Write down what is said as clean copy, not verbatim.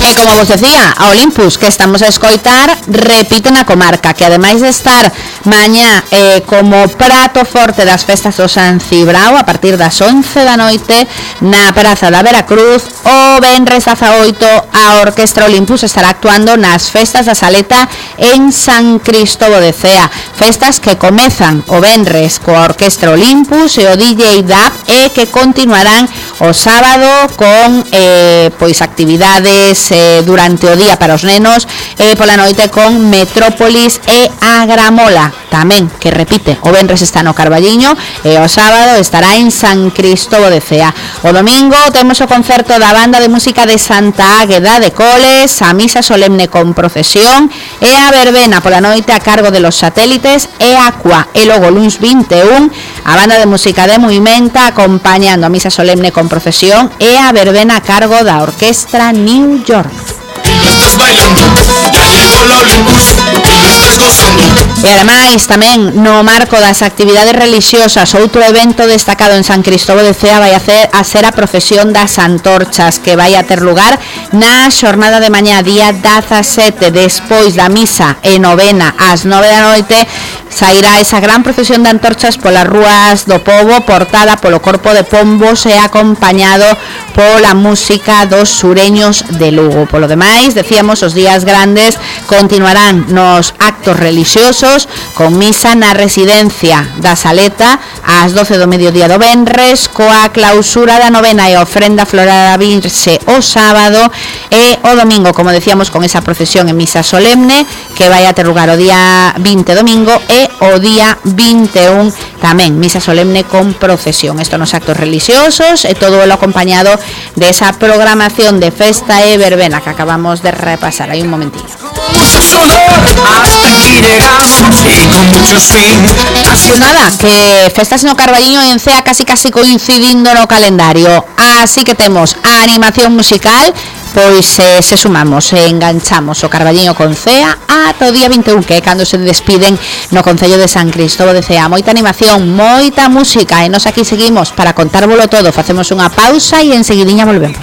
E como vos decía, a Olympus, que estamos a escoitar, repite na comarca, que ademais de estar mañá como prato forte das festas do San Cibrao a partir das 11 da noite na Praza da Veracruz, o venres 18 a Orquestra Olympus estará actuando nas festas da Saleta en San Cristóbal de Cea, festas que comezan o venres coa Orquestra Olympus e o DJ DAP, e que continuarán o sábado con pois actividades durante o día para os nenos, pola noite con Metrópolis e a Gramola tamén, que repite, o venres está no Carballiño e o sábado estará en San Cristóbal de Cea. O domingo temos o concerto da Banda de Música de Santa Águeda de Coles, a misa solemne con procesión e a verbena pola noite a cargo de Los Satélites e Aqua, e logo luns 21 a Banda de Música de Movimenta acompañando a misa solemne con procesión e a verbena a cargo da Orquestra New York. E ademais tamén no marco das actividades religiosas, outro evento destacado en San Cristóbal de Cea vai a ser a procesión das antorchas, que vai a ter lugar na xornada de mañá día 17, despois da misa e novena ás 9 da noite. Sairá esa gran procesión de antorchas polas rúas do pobo, portada polo corpo de pombos e acompañado pola música dos sureños de Lugo. Polo demais, decíamos, os días grandes continuarán nos actos religiosos con misa na residencia da Saleta ás 12 do mediodía do venres, coa clausura da novena e ofrenda floral da Virxe o sábado, e o domingo, como decíamos, con esa procesión en misa solemne que vai a ter lugar o día 20 domingo e o día 21 tamén misa solemne con procesión. Isto nos actos religiosos e todo o acompañado de esa programación de festa e verbena que acabamos de repasar hai un momentillo. Nada, que festas no Carballiño e en Cea casi coincidindo no calendario, así que temos a animación musical. Pois se sumamos e enganchamos o Carballiño con Cea ata o día 21, que é cando se despiden no Concello de San Cristóbal de Cea. Moita animación, moita música, e nos aquí seguimos para contárvolo todo. Facemos unha pausa e enseguidiña volvemos.